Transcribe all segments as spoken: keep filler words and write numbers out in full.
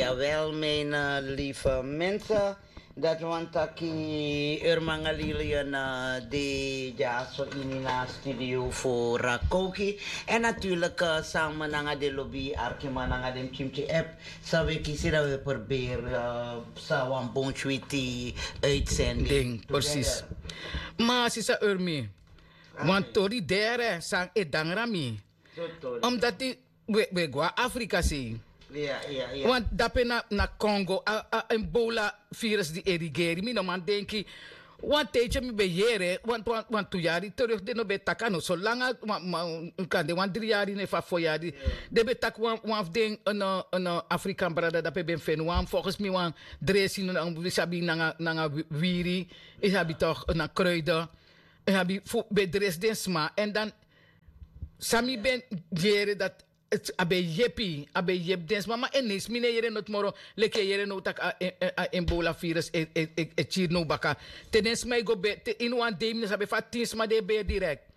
Jawel, mijn lieve mensen. Dat want taki urmanga lilian de jaso ini na studio fu Rakoki. En natuurlijk samen nanga de lobby arkiman nanga den chimchi app. Sa we kisi dat we proberen sa wan bon switi uitzending. Ding precies. Ma sisa urmi, want tori dere san e dangra mi. Omdat we go a Afrika sei. Want dape na Congo a ebola virus di e rigeri mi no man denki. Wan tijdje mi ben yere want wan tu yari terug den no ben taki a no so langa. Kan de wan dri yari ne fa fo yari den ben taki wan fu den. Afrikan brada dape ben feni wan volgens mi wan dresi no na un sabi nanga wiri. Yu sabi tok na kruiden. Yu sabi fu ben dresi den sma en dan san mi ben yere dati. A ben yepi a ben yepi den sma ma en ne si mi ne yere noti moro. Leki e yere now tak' a ebola virus e kiri now baka. Te den sma e go beri te ini wan dei mi no sabi efu a tin sma di e beri direkt.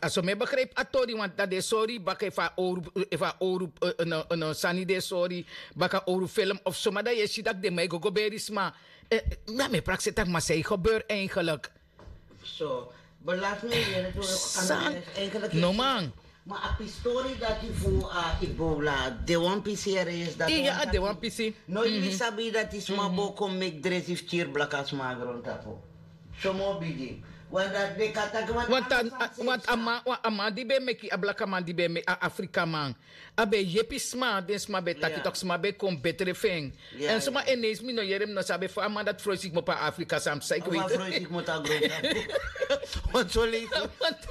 A so mi e begripi a tori want dan den e sori baka efu a owru sani den e sori baka owru film of soma dan yu e si tak' den man e go go beri sma. Dan mi e prakseri tak' ma san e gebeur eigenlik? So belas mi yere tu. San no man. Ma a pistori dati fu a ebola de wan pisi ere esi dati. Iya a de wan pisi. No yu sabi dati sma bo kon meki dresi fu kiri blaka sma na grontapu. Somo bigi. Want dati de kan taki want a man di ben meki a blaka man di ben meki a afrika man. A ben yepi sma den sma ben taki toki sma ben kon betre fu en. Èn suma en ne isi mi no yere mi no sabi efu a man dati froisi kmopo na afrika san mi saiki wei. Froisi kmopo na grontapu. Want so leisi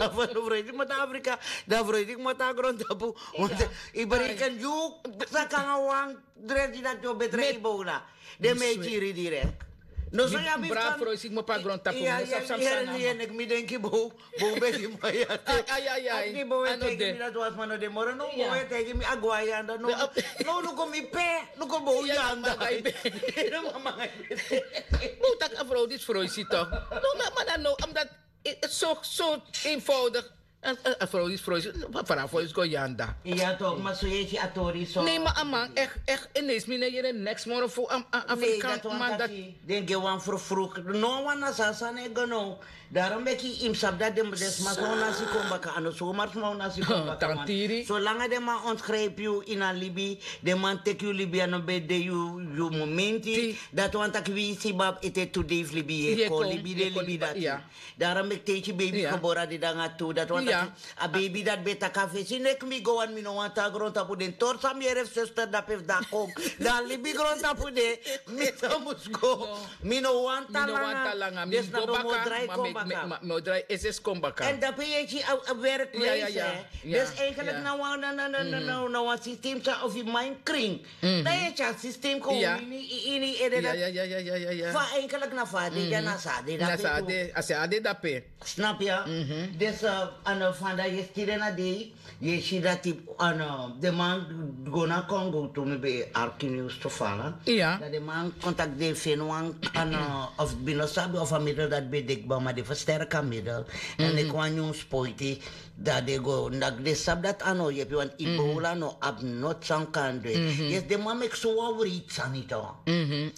a froisi kmopo na afrika. Dan froisi kmopo na grontapu. Want yu bereken yu saka nanga wan dresi dati yu o betre yu bow na den mi e kiri direk. No so yu abi bra froisi kmopo na grontapu. Mi denki bow bow begi maya. Ai ai ai ai. Ni bow e taigi mi dati wan sma no de moro no bow e taigi mi a gwa yanda no. No no kon mi pe no kon bow yanda. Bow taki a frow disi froisi tok. No na mana no omdat so so eenvoudig. A froisi froisi fara froisi kon yanda. Ya tok ma so yu e si a tori so. Ne ma a man echt echt en ne isi mi ne yere neks moro fu a afrikan man dati. Den gi wan frufruk no wan na sasa ne go no. Darom meki yu mus sabi dati den sma san un nasi kon baka a no somar sma un nasi kon baka. Solanga den man ontgripi yu ini a libi den man teki yu libi a no ben de yu momenti. Dati wani taki wi si babi ete tu dei fu libi yu e kon libi den libi dati. Darom meki te yu si beibi gebore a dede nanga tu dati wani taki a beibi dati ben taki a fesi neki mi go wani mi no wani tan na grontapu den tori san mi yere fu sester dape fu dan kon dan libi grontapu de. Mi san mus go. Mi no wanta langa mi mus go baka. Mi o drai esi esi kon baka. Èn dape yu e si a werkwijs. Dus eigenlik na wan na wan systeem san of yu man kring dan yu e si a systeem kon ini yu ede dati. Fa eigenlik na fa a de dya na sa a de dape. Snap ya. Dus a no fanda yu e stiri en a dei. Yu e si dati den man go na kongo tu mi ben e arki nius tu fala. Dan den man kon taki den e feni wan of bin no sabi of a middel dati ben de kba ma den fersterki a middel. Dan leki wan nyun spoiti. Dan den go daki den sabi dati a no yepi want ibola no abi noti san kan du en. Yes den man meki so wan wreiti sani tu.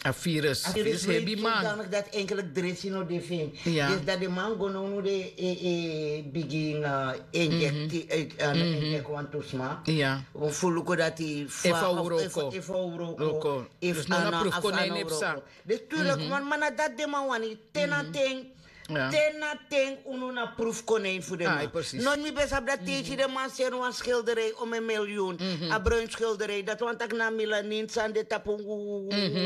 A virus a virus hebi man. Dati eigenlik dresi no de fu en. Yes dan den man go nownu den e bigin injekti. Injekti wantu sma fu luku dati efu a wroko efu a wroko efu a na prufu kon na ini psa. Dus tu leki man ma na dati den man wani te na ten. Te na ten unu na prufu kon na ini fu den man. Noti mi ben sabi dati te yu si den man seni wan skilderei ome milyun a bruin skilderei dati wani taki na milanin san de tapu.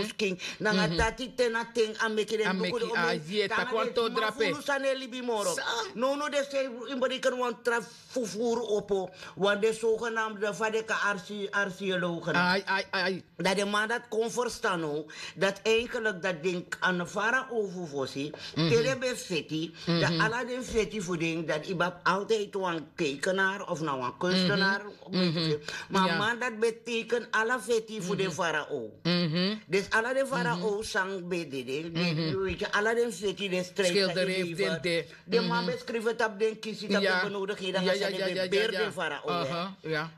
Skin nanga dati te na ten a meki den luku den ome. Taki wan to drape fulu san no e libi moro. Nownu den sei yu bereken wan tra fufuru opo wan den sogenamde fa den kan arsi arsiologen. Dan den man dati kon ferstan now dati eigenlik dati den kan fara ofu fosi te den ben feti, dan ala den feti fu den, dan yu ben abi altijd wan tekenaar of na wan kunstenaar. Ma a man dati ben teken ala feti fu den farao. Dus ala den farao san ben de den, den, yu weet je, ala den feti, den strijd, den man ben skrifi tapu den kisi, tapu den benodigheden, a sani ben beri den farao.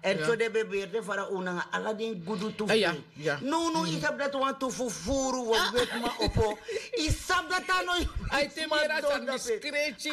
En so den ben beri den farao nanga ala den gudu tu fu den. No no, yu sabi dati wantu fufuru wan wetiman opo. Yu sabi dati a no, yu te mera sani.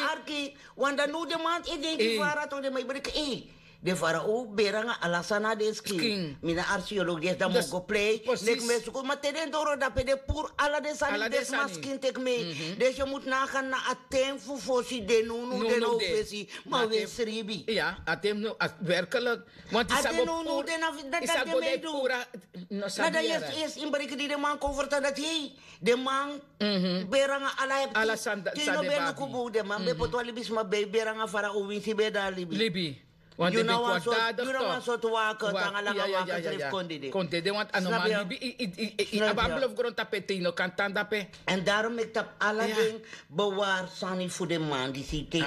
Arki, want dan no den man e denki fara to den man e breki, eh, den farao beri nanga ala sani na den skin. Mi na archeologi, dan mi o go prei. Leki mi e suku, ma te den doro dape den puru ala den sani, den sma skin teki mei. Dus yu mus nanga na a ten fu fosi, den no no, den no fesi, ma wi e sribi. Ya, a ten no, werkelijk. Want yu sa go puru, yu sa go de puru. Na dan yu e si, yu e si, yu e breki di den man kon fertan dati, hei, den man beri nanga ala, te yu no ben luku bun, den man ben poti wan libisma, ben beri nanga farao winsi ben de na libi. Libi. Want den ben kon dati, yu na wan sortu waka, tanga langa waka srefi kon dede. Kon dede, want a no man libi, yu abi a belofgrontapu, te yu no kan tan dape. En daarom meki tapu ala den bewaar sani fu den man disi te